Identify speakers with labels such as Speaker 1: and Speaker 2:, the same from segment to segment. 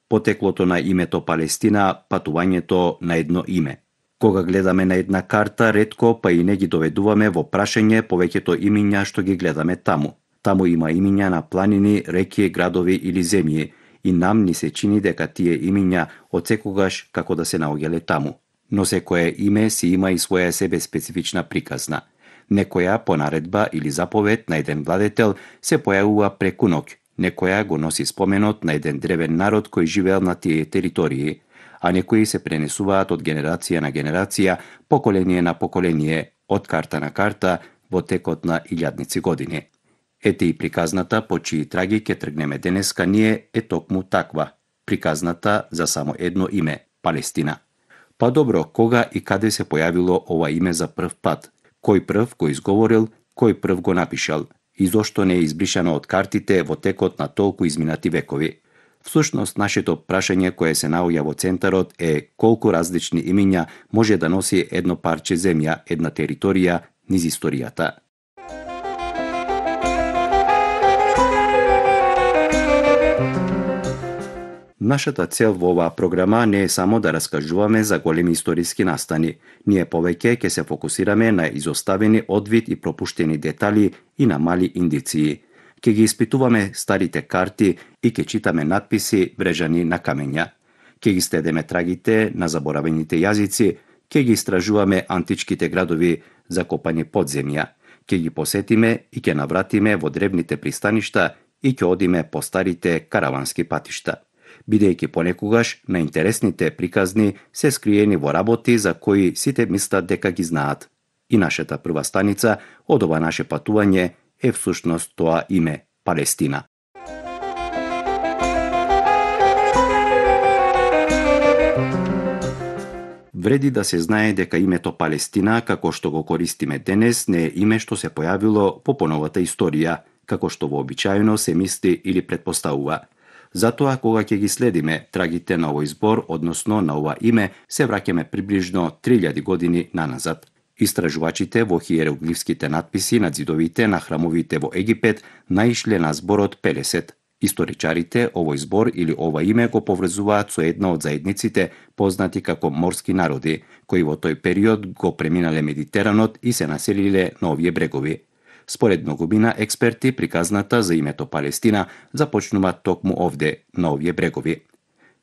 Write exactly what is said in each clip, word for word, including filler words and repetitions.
Speaker 1: потеклото на името Палестина, патувањето на едно име. Кога гледаме на една карта, ретко па и не ги доведуваме во прашање повеќето имиња што ги гледаме таму. Таму има имиња на планини, реки, градови или земји, и нам ни се чини дека тие имиња одсекогаш како да се наоѓале таму. Но секое име си има и своја себе специфична приказна. Некоја по наредба или заповед на еден владетел се појавува преку ноќ, некоја го носи споменот на еден древен народ кој живеел на тие територии, а некои се пренесуваат од генерација на генерација, поколение на поколение, од карта на карта, во текот на илјадници години. Ете и приказната по чии траги ќе тргнеме денеска ние е токму таква, приказната за само едно име – Палестина. Па добро, кога и каде се појавило ова име за прв пат? Кој прв го изговорил, кој прв го напишал? И зошто не е избришано од картите во текот на толку изминати векови? Всушност, нашето прашање кое се наоѓа во центарот е колку различни имиња може да носи едно парче земја, една територија, низ историјата. Нашата цел во оваа програма не е само да раскажуваме за големи историски настани. Ние повеќе ќе се фокусираме на изоставени одвид и пропуштени детали и на мали индиции. Ќе ги испитуваме старите карти и ќе читаме надписи врежани на камења. Ќе ги следеме трагите на заборавените јазици, ќе ги истражуваме античките градови закопани под земја. Ќе ги посетиме и ќе навратиме во древните пристаништа и ќе одиме по старите каравански патишта. Бидејќи понекогаш најинтересните приказни се скриени во работи за кои сите мислат дека ги знаат. И нашата прва станица од ова наше патување е всушност тоа име – Палестина. Вреди да се знае дека името Палестина, како што го користиме денес, не е име што се појавило по поновата историја, како што вообичаено се мисли или претпоставува. Затоа, кога ќе ги следиме трагите на овој збор, односно на ова име, се враќаме приближно три илјади години наназад. Истражувачите во хиероглифските надписи на ѕидовите на храмовите во Египет наишле на зборот Пелесет. Историчарите овој збор или ова име го поврзуваат со една од заедниците познати како морски народи, кои во тој период го преминале Медитеранот и се населиле на овие брегови. Според многумина експерти, приказната за името Палестина започнува токму овде, на овие брегови.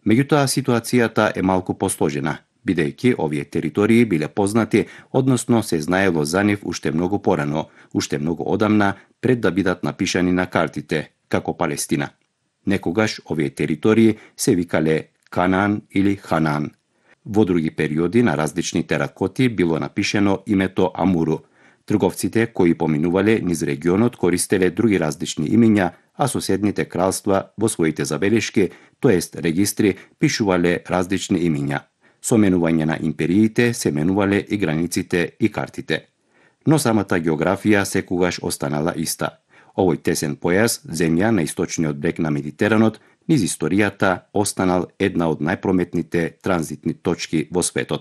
Speaker 1: Меѓутоа, ситуацијата е малку посложена, бидејќи овие територии биле познати, односно се знаело за нив уште многу порано, уште многу одамна, пред да бидат напишани на картите, како Палестина. Некогаш овие територии се викале Канаан или Ханан. Во други периоди на различни теракоти било напишено името Амуру. Трговците кои поминувале низ регионот користеле други различни имиња, а соседните кралства во своите забелешки, тоест регистри, пишувале различни имиња. Со менување на империите се менувале и границите и картите. Но самата географија секогаш останала иста. Овој тесен појас, земја на источниот брег на Медитеранот, низ историјата останал една од најпрометните транзитни точки во светот.